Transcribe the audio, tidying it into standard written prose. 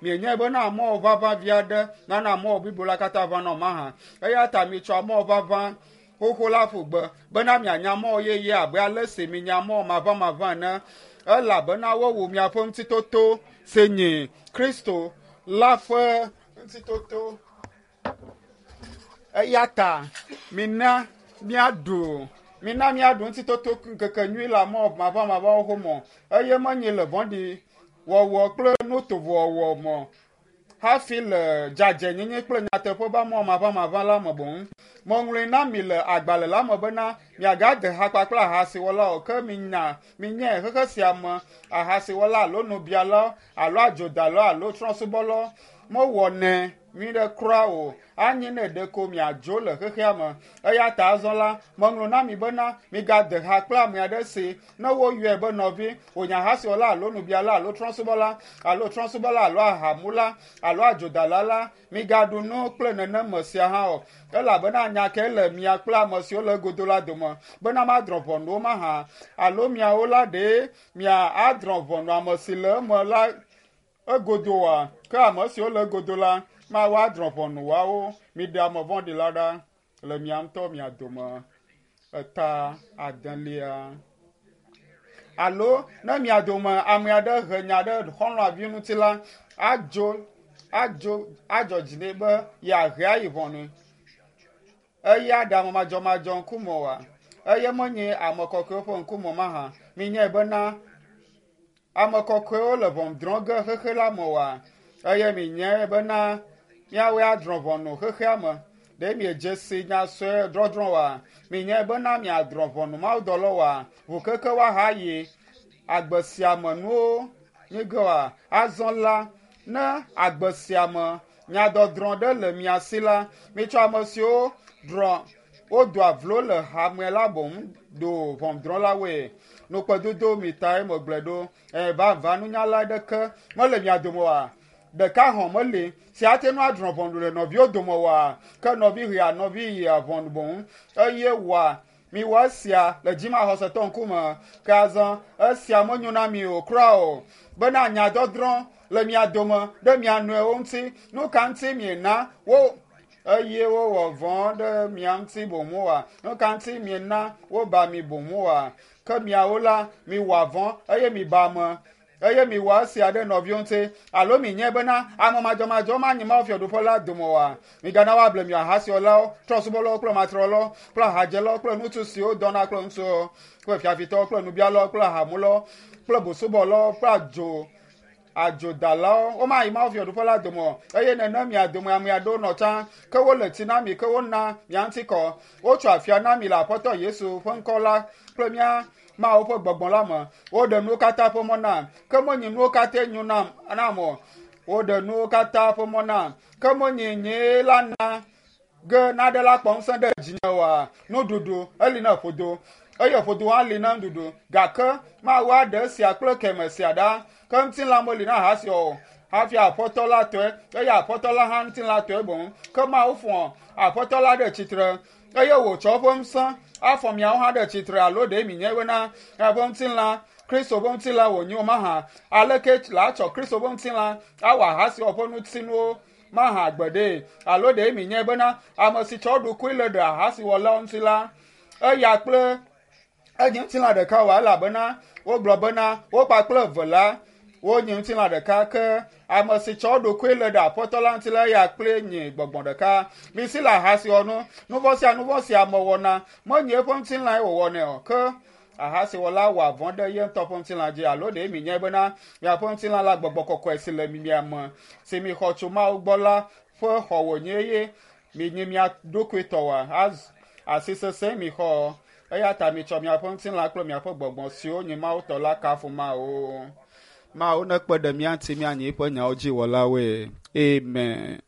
Mienyae bena amɔwɔ ʋaʋã vi aɖe nana amɔwɔ blibo la katã ʋãna o mahã? Eya ta mitsɔ amɔwɔ ʋaʋã xoxo la ƒu gbe bena mianya amɔwɔ yeye abe ale si minya amɔwɔ maʋãmaʋã ene elabena wowu miaƒe ŋutitoto si nyi Kristo la ƒe ŋutitoto. Eya ta mina míaɖu mina míaɖu ŋutitoto ŋkeke nyui le amɔwɔ maʋãmaʋãwo ƒe mɔ eye menyi le vɔ̃ɖi wɔwɔ kple nutovowɔwɔ me hafi le dzadzɛnyenye kple nyateƒe be amɔwɔ maʋãmaʋã la me boŋ. Meŋlɔe na mi le agbalẽ la me bena miagade ha kpakple ahasiwɔlawo o, ke minya minyae xexe sia me ahasiwɔla alo nubialawo alo adzodalawo alo trɔ̃subɔlawo mewɔnɛ nyui ɖe kura o. Anyi ne ɖeko miadzo le xexea me. Eya ta azɔ la, meŋlɔ na mi bena migade ha kple ame aɖe si ne woyɔe be nɔvi, wònye ahasiwɔla alo nubiala alo trɔ̃subɔla alo trɔ̃subɔla alo ahamula alo adzodala la, migaɖu nu kple neneme sia hã o. Elabena nya kae le mia kple ame siwo le egodo la dome bena madrɔ̃ ʋɔnu wo mahã? Alo miawo la ɖe mia adrɔ̃ ʋɔnu ame si le eme la egodo oa? Ke ame siwo le egodo la, Mawu adrɔ̃ ʋɔnu woawo. Miɖe ame vɔ̃ɖi la ɖa le mia ŋutɔ mia dome. Eta adelia. Alo ne mia dome ame aɖe he nya ɖe xɔlɔ̃a vi ŋuti la, adzo adzo adzɔ dzi nɛ be yeahe ayi ʋɔnui. Eya ɖe ame madzɔmadzɔ ŋkume oa? Eye menye ame kɔkɔewo ƒe ŋkume mahã? Minyae bena ame kɔkɔewo le ʋɔnu drɔ̃ ge xexe la me oa? Eye minyae bena míawoe adrɔ̃ ʋɔnu xexea me. Ɖe miedze si nya sue drɔ̃drɔ̃ oa? Minyae bena miadrɔ̃ ʋɔnu mawudɔlawo oa? Ʋukeke woahayi agbe sia me nuwo nyi ge oa? Azɔ la, ne agbe sia me nyadɔdrɔ̃ ɖe le mia si la, mitsɔ ame siwo drɔ̃ wodoa vlo le hame la boŋ do ʋɔnudrɔ̃lawoe. Nukpedodo mi tae megblɔe ɖo. Ẽ, vavã nunyala aɖeke mele mia dome oa? Ɖeka hɔ̃ meli si ate ŋu adrɔ̃ ʋɔnu le nɔviwo dome oa? Ke nɔvi hea nɔvi yia ʋɔnu boŋ eye wɔa miwɔ esia le dzimaxɔsetɔ ŋkume. Ke azɔ esia menyo na mi o kura o bena nyadɔdrɔ̃ le mia dome ɖe mia nɔewo ŋuti. Nu ka ŋuti miena wo eye wowɔ vɔ̃ ɖe mia ŋuti boŋ oa? Nu ka ŋuti miena woba mi boŋ oa? Ke miawo la, miwɔa vɔ̃ eye miba ame eye miwɔ esia ɖe nɔviwo ŋuti. Alo minyae bena ame madzɔmadzɔ manyi Mawu fiaɖuƒe la dome oa? Migana woable mi ahasiwɔlawo, trɔ̃subɔlawo kple matrewɔlawo kple ahadzelawo kple ŋutsu siwo dɔna kple ŋutsuwo kple fiafitɔwo kple nubialawo kple ahamulawo kple busubɔlawo kple adzo adzodalawo. Womayi Mawu fiaɖuƒe la dome o. Eye nenem mia dome ame aɖewo nɔ tsã, ke wole tsi na mi, ke wona mia ŋuti kɔ. Wotso afia na mi le Aƒetɔ Yesu ƒe ŋkɔ la kple mía Mawu ƒe gbɔgbɔ la me. Woɖe nuwo katã ƒe mɔ nam, ke menye nuwo katãe nyo nam nam o. Woɖe nuwo katã ƒe mɔ nam, ke menye nyee la na ge naɖe la kpɔ ŋusẽ ɖe dzinye oa? Nuɖuɖu eli na ƒodo eye ƒodo hã li na nuɖuɖu gake Mawu aɖe esia kple keme sia ɖa. Ke ŋutilã meli na ahasi o hafi Aƒetɔ la tɔe eye Aƒetɔ la hã ŋutilã tɔe boŋ. Ke Mawu fɔ Aƒetɔ la ɖe tsitre eye wòtsɔ eƒe ŋusẽ afɔ miawo hã ɖe tsitre alo ɖe minyae bena eƒe ŋutilã Kristo ƒe ŋutilã wònye o mahã? Aleke la tsɔ Kristo ƒe ŋutilã awɔ ahasiwɔwɔ ƒe ŋutinuwo mahã gbeɖe? Alo ɖe minyae bena ame si tsɔ eɖokui le ɖe ahasiwɔlawo ŋuti la, eya kple enye ŋutilã ɖeka oa? Elabena wogblɔ bena wo kpakple eve la wonye ŋutilã ɖeka ke ame si tsɔ eɖokui le ɖe Aƒetɔ la ŋuti la, eya kple nye gbɔgbɔ ɖeka. Misi le ahasiwɔnu. Nuvɔ̃ sia nuvɔ̃ si ame wɔna menye eƒe ŋutilãe wòwɔnɛ o ke ahasiwɔla wɔa vɔ̃ ɖe ye ŋutɔ ƒe ŋutilã dzi. Alo ɖe minyae bena miaƒe ŋutilã la gbɔgbɔ kɔkɔe si le mia me si mixɔ tso Mawu gbɔ la ƒe xɔ wònye eye minyi mia ɖokui tɔ oa? Az asi sesẽ mixɔ. Eya ta mitsɔ miaƒe ŋutilã kple miaƒe gbɔgbɔ siwo nye Mawu tɔ la kafu Mawu. Mawu nekpe ɖe mía ŋuti míanyi eƒe nyawo dzi wɔlawoe. Amen.